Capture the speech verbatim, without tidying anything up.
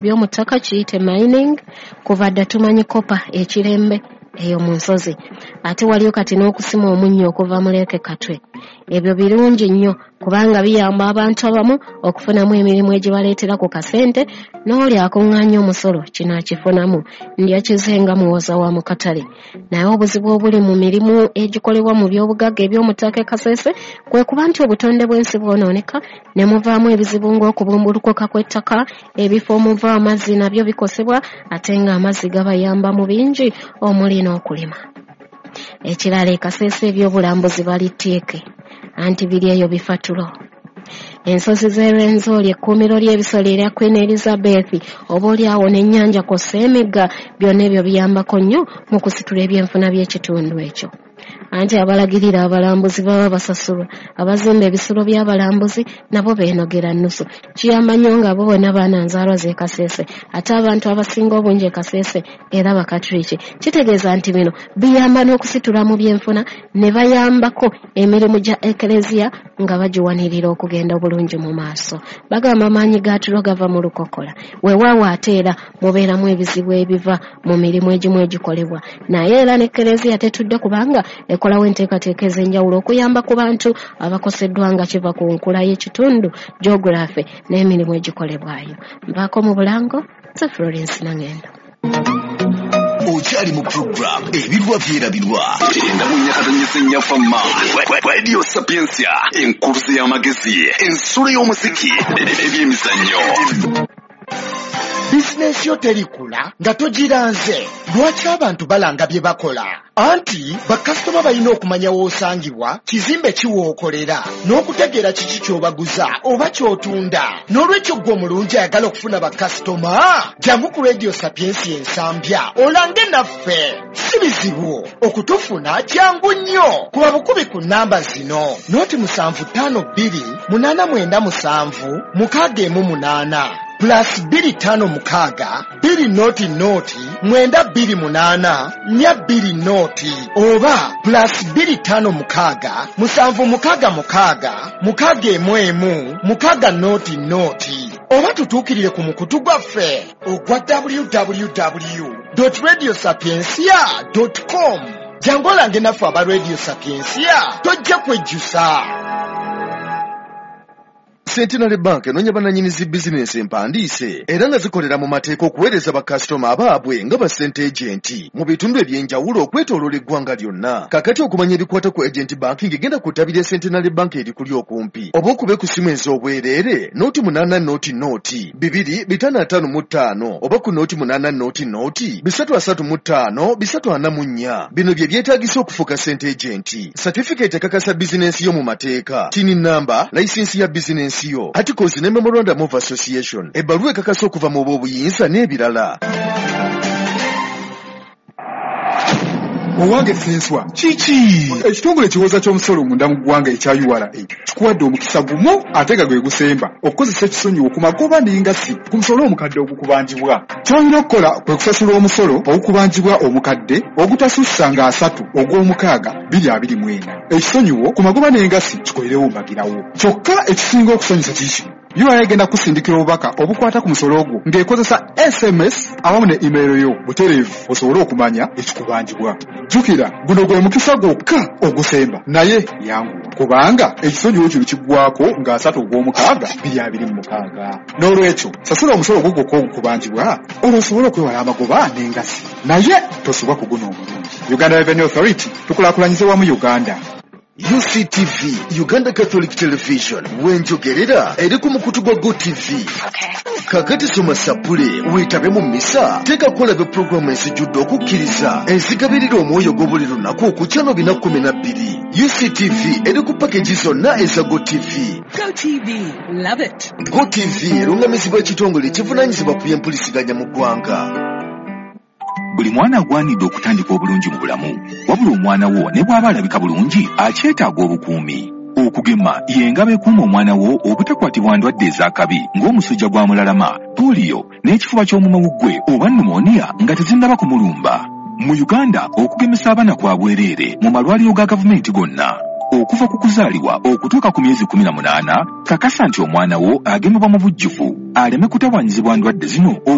By'omu ttaka kiyite mining. Kuva dda tumanyi copper ekirembe eyo mu nsozi, ate waliyo kati n'okusima omunnyo okuva mu Lake Katwe. Ebyo birungi nnyo kubanga biyamba abantu abamu okufunamu emirimu egibaleetera ku kasente, n'oli akuŋŋaanya omusolo kino akifunamu. Ndyakize nga muwoza wa mu katale. Naye obuzibu obuli mu mirimu egikolebwa mu by'obugagga eby'omu ttaka e Kasese kwe kuba nti obutonde bw'ensi bwonooneka ne muvaamu ebizibu ng'okubumbulukuka kw'ettaka, ebifo omuva amazzi nabyo bikosebwa, ate ng'amazzi gabayamba mu bingi omuli n'okulima. Ekirala, e Kasese ebyobulambuzi balitteeke, anti biri eyo bifatulo. Ensozi z'e Rwenzori, ekkuumiro ly'ebisolo erya Queen Elizabeth, oba oliawo n'ennyanja kw'ossa emigga, byonna ebyo biyambako nnyo mu kusitula ebyenfuna by'ekitundu ekyo. Anti abalagirira abalambuzi baba basasulwa, abazimba ebisulo by'abalambuzi nabo beenogera nnusu. Kiyamba nnyo nga bo bonna baana nzaalwa z'e Kasese, ate abantu abasinga obungi e Kasese era Bakatuliki. Kitegeeza nti bino biyamba n'okusitula mu byenfuna ne bayambako emirimu gya Eklezia nga bagiwanirira okugenda obulungi mu maaso. Bagamba amaanyi ga tulo gava mu lukokola. Weewaawo ate era mubeeramu ebizibu ebiva mu mirimu egimu egikolebwa, naye era ne Eklezia tetudde kubanga ekolawo enteekateeka ez'enjawulo okuyamba ku bantu abakoseddwa nga kiva ku nkula y'ekitundu, geography n'emirimu egikolebwayo. Nvaako mu bulango, nze Florence Nangendo. Okyali mu program Ebirwa Byerabirwa, enda mu nyakatonyese nnyafamma. Radio Sapientia, enkuluze y'amagezi, ensulo y'omuziki, ebyemizannyo. Bizinensi yo terikula nga togiranze. Lwaki abantu balanga bye bakola? Anti bakasitoma balina okumanya w'osangibwa, kizimbe ki w'okolera, n'okutegeera kiki ky'obaguza oba ky'otunda. N'olwekyo ggwe omulungi ayagala okufuna bakasitoma, jangu ku Radio Sapientia Ensambya olange naffe. Si bizibu okutufuna, kyangu nnyo. Kuba bukubi ku nnamba zino: nooti musanvu ttaano bbiri munaana mwenda musanvu mukaaga emu munaana, plus bbiri ttaano mukaaga bbiri nooti nooti mwenda bbiri munaana nnya bbiri nooti, oba plus bbiri ttaano mukaaga musanvu mukaaga mukaaga mukaaga emu emu mukaaga nooti nooti, oba tutuukirire ku mukutu gwaffe ogwa W W W radio sapiencia com. Jangu olange naffe aba Radio Sapiencia, tojja kwejjusa. Centenary Bank enoonya bannannyini zi bizinensi empandiise era nga zikolera mu mateeka okuweereza bakasitoma abaabwe nga ba sente agent mu bitundu eby'enjawulo okwetooloola eggwanga lyonna. Kakati okumanya ebikwata ku agent banking, genda ku ttabi lya Centenary Bank erikuli okumpi oba okube ku ssimu ez'obwereere nooti munaana nooti nooti bibiri bitaano ataano mu ttaano oba ku nooti munaana nooti nooti bisatu asatu mu ttaano bisatu ana mu nnya. Bino bye byetaagisa okufuuka sente agent: certificate ekakasa bizinensi yo mu mateeka, TIN number, layisinsi ya bizinensi yo, articles ne memorandum of association, ebbaluwa ekakasa okuva mu b'obuyinza n'ebirala. Owange Senswa, kiki ekitongole ekiwooza ky'omusolo munda mu ggwanga ekya U R A kikuwadde omukisa gumu ate nga gwe gusemba okukozesa ekisonyiwo ku magoba n'engassi ku musolo omukadde ogukubanjibwa. Ky'olina okukola kwe kusasula omusolo ogukubanjibwa omukadde ogutasussa nga asatu ogw'omukaaga bbiri abiri mu ena. Ekisonyiwo ku magoba n'engassi kikolerewo mbagirawo. Kyokka ekisinga okusanyusa kiki? U R A egenda kusindikira obubaka obukwata ku musolo ogwo ng'ekozesa S M S awamu ne email yo butereevu osobole okumanya ekikubanjibwa. Jjukira, guno gwe mukisa gwokka ogusemba, naye yanguwa kubanga ekisonyiwo kino kiggwako nga asatu ogw'omukaaga bbiri abiri mu mukaaga. N'olwekyo sasula omusolo ogwo gwokka ogukubanjibwa olwo osobole okwewala amagoba n'engassi, naye tosubwa ku guno omulungi. Uganda Revenue Authority, tukulaakulanyize wamu Uganda. U C T V, Uganda Catholic Television, wenjogerera eri ku mukutu gwa GOtv. Kakati soma sapule weetabe mu misa, teekako olabe puroguramu ezijjudde okukkiriza ezigabirira omwoyo gwo buli lunaku ku channel bina kumi na bbiri. U C T V eri ku package zonna eza GOtv. GoTV, love it. GOtv erungamizibwa ekitongole ekivunaanyizibwa ku byempuliziganya mu ggwanga. Buli mwana agwanidde okutandika obulungi mu bulamu, wabula omwana wo ne bw'aba alabika bulungi akyetaaga obukuumi. Okugema y'engabo ekuuma omwana wo obutakwatibwa ndwadde ez'akabi ng'omusujja gwa mulalama, pooliyo n'ekifuba ky'omumawuggwe oba pneumonia nga tezinnaba kumulumba. Mu Uganda, okugemesa abaana kwa bwereere mu malwaliro ga gavumenti gonna. Okuva ku kuzaalibwa okutuuka ku myezi kkumi na munaana, kakasa nti omwana wo agemebwa mu bujjuvu aleme kutawaanyizibwa ndwadde zino.